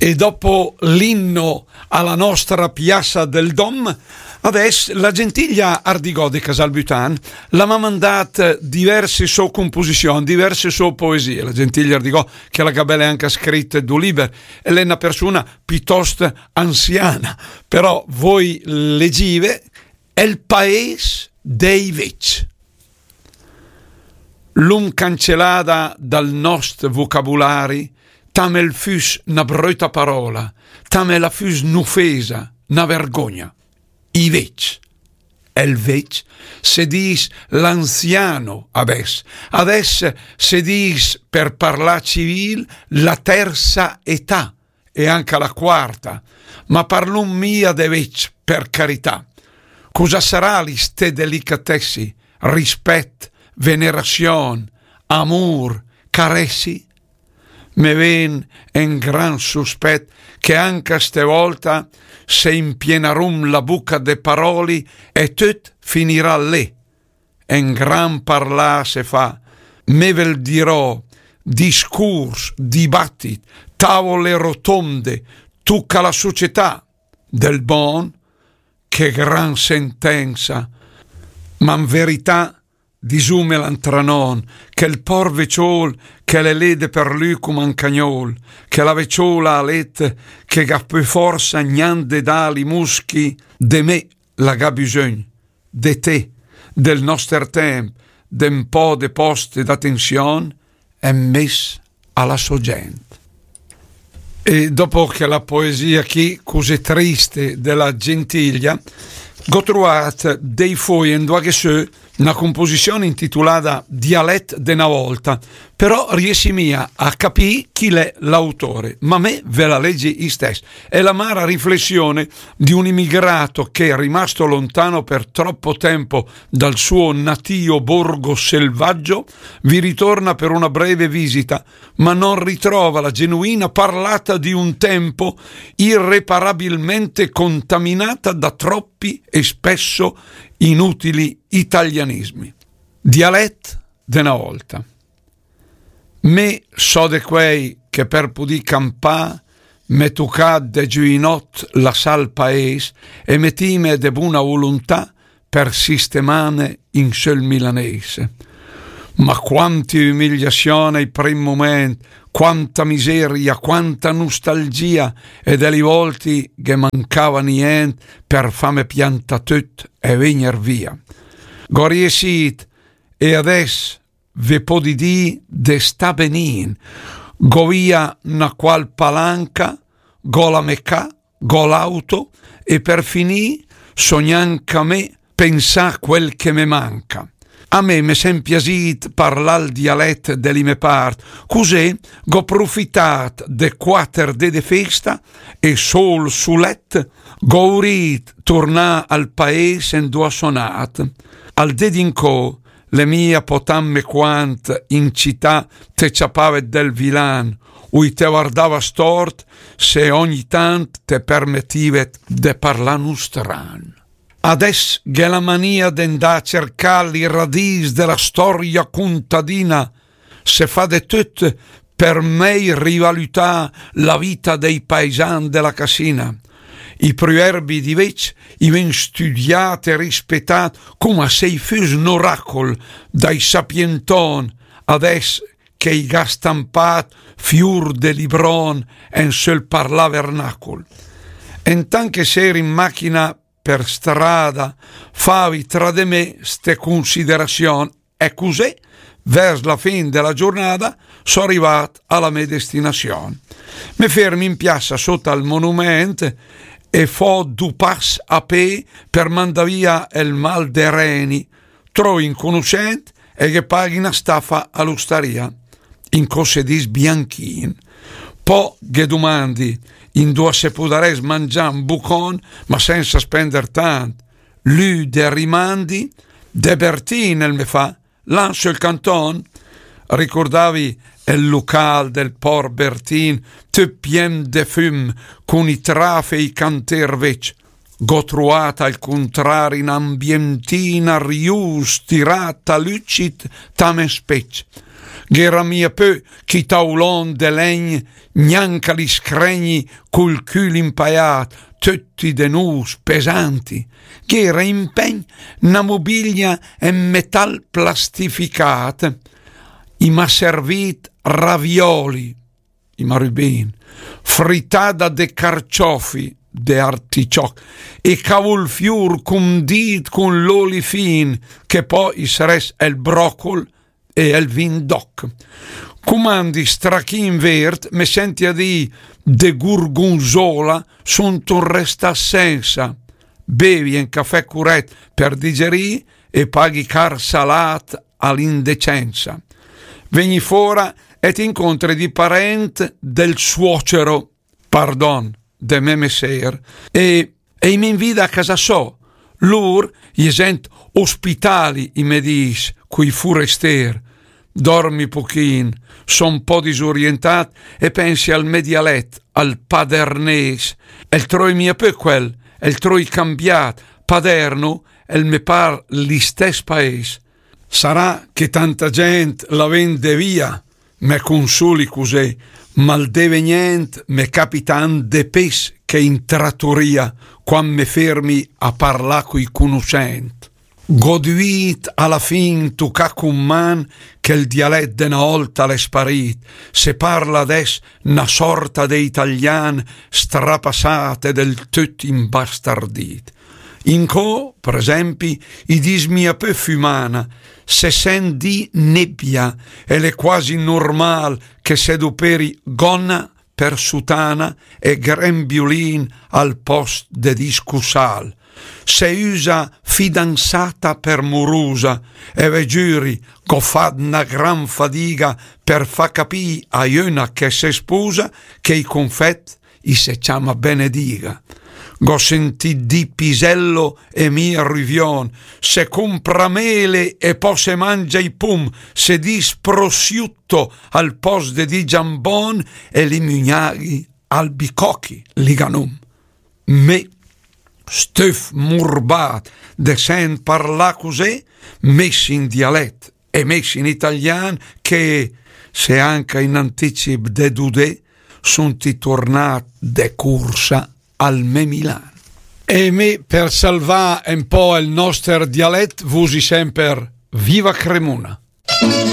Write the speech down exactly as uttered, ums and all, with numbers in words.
E dopo l'inno alla nostra piazza del Dom, adès la Gentilia Ardigò de Casalbutan la m'ha mandat diverse so composizioni, diverse so poesie. La Gentilia Ardigò, che la gabele anche scritte du liber, e l'è una persona piuttosto anziana, però voi legive El paes dei vec. L'um cancellada dal nost vocabulari, tam el füs na bröta parola, tam el füs n'ufesa, na vergogna. I vec. El vec se dis l'anziano adès. Adès se dis, per parlar civil, la terza età e anca la quarta, ma parlum mia de vec, per carità. Cosa sarà li ste delicatessi, rispet, venerazion, amur, caressi? Me ven en gran suspet che anca ste volta se impienarum la buca de paroli e tut finirà lé. En gran parlà se fa, me vel dirò, discurs, dibattit, tavole rotonde, tuca la società del bon, che gran sentenza, ma in verità, disumela tra non, che el por veciol, che l'è lé de per lü cum un cagnol, che la veciola a let, che ga pü forsa gnant de dà li muschi, de me la ga bisogn, de te, del noster temp, de un po' de post e d'attenzion, e mess a la so gent. E dopo che la poesia chi, così triste, della Gentilia, go troat dei foi en dua che sö una composizione intitolata Dialet de na volta, però riessi mia a capì chi l'è l'autore, ma me ve la leggi istess. È l'amara riflessione di un immigrato che, rimasto lontano per troppo tempo dal suo natio borgo selvaggio, vi ritorna per una breve visita, ma non ritrova la genuina parlata di un tempo irreparabilmente contaminata da troppi e spesso inutili italianismi. Dialet de na volta. Me so de quei che per pudì campà m'è tucà de giuinot lassà el paes e metime de buna vuluntà per sistemame in sö el milanes. Ma quanti umiliazion ai prim moment, quanta miseria, quanta nustalgia, e de li volti che mancava nient per fame piantà tut e vegner via. Go riessit e adess ve podi dì de stà benin, go via na qual palanca, go la me ca, go l'auto e per finì so gnanca me pensà quel che me manca. A me me sem piasit parlà el dialet de li me part, cusì go profitat de quater de de festa e sol sulet go urit turnà al paes en dua so nat. Al de d'incò l'è mia po tant me quant in cità te ciapavet del vilan, ui te vardava stort se ogni tant te permetivet de parlà nustran. Adess gh'è la mania de 'ndà a cercà li radis de la storia cuntadina, se fa de tut per mei rivalütà la vita dei paisan de la Casina. I pruerbi di vec i ven studiat e rispetat coma se i füs n'oracol dai sapienton, adess che i ga stampat fiur de libron en sö el parlà vernacol. Entant che seri in machina per strada, favi tra de me ste cunsiderazion e cusì, vers la fin de la giurnada, so rivat a la me destinazion. Me fermi in piassa sot al monument e fo du pass a pe per mandà via el mal de reni. Trovi un cunuscent e ghe paghi na stafa a l'ustaria. Incò se dis Bianchin. Po ghe dumandi induà se pudaress mangià un bucon, ma senza spender tant. Lü de rimandi, de Bertin el me fa, là in sö el canton. Ricordavi el lucal del por Bertin, tüt pien de füm, cun i traf e i canter vec. Go truat al cuntrari n'ambientina rius, tirat a lücid, tam en spec. Gh'era mia pö chi taulon de legn, gnanca li scregni cul cül impaiat, tötti de nus pesanti. Gh'era in pegn na mobilia en metal plastificat, i m'ha servit ravioli, i m'ha rübin, fritada de carciofi, de articioc, e cavulfiur cundit cun l'oli fin, che pò i s'rès el brocul e el vin d'oc. Cumandi strachin vert, me senti a dì, de gurgunzola suntun restà sensa. Bevi en cafè curet per digerì e paghi car salat a l'indecenza. Vegni fora e t'incontri di parent del suocero, pardon, de me messer, e, e i m'invida a casa so. Lur i è gent ospitali, i me dis, cui furester. Dormi puchin, son po disorientat e pensi al me dialet, al padernes. El troi mia pö quel, el troi cambiat, paderno, el me par l'istes paes. Sarà che tanta gent la vende via, me consuli cusì, ma al devenient me capitan de pes che in tratoria, quan me fermi a parlà cui cunuscent. Goduit a la fin tucà cun man che il dialet de na olta l'è sparit, se parla adès na sorta de italian strapassat e del töt imbastardit. Incò, per esempi, i dis mia pö fümana, se sent dì nebbia, e l'è quasi normal che se doperi gonna per sutana e grembiulin al post de dì scusal. Se üsa fidanzata per murusa, e ve giüri, gh'ho fat na gran fadiga per fa capì a jöna che se spusa che i confet i se ciama benediga. Gh'ho sentit dì pisello e mia ruvion, se compra mele e po se mangia i pum, se dis prosciutto al post de dì giambon e li mugnaghi albicocchi, liganum. Me, stöf murbat de sent parlà cusì, mes in dialet e mes in italian, che se anca in anticip de dudè, sunti tornat de cursa al me Milan. E me, per salvà un po' il noster dialet, vusi semper: Viva Cremona!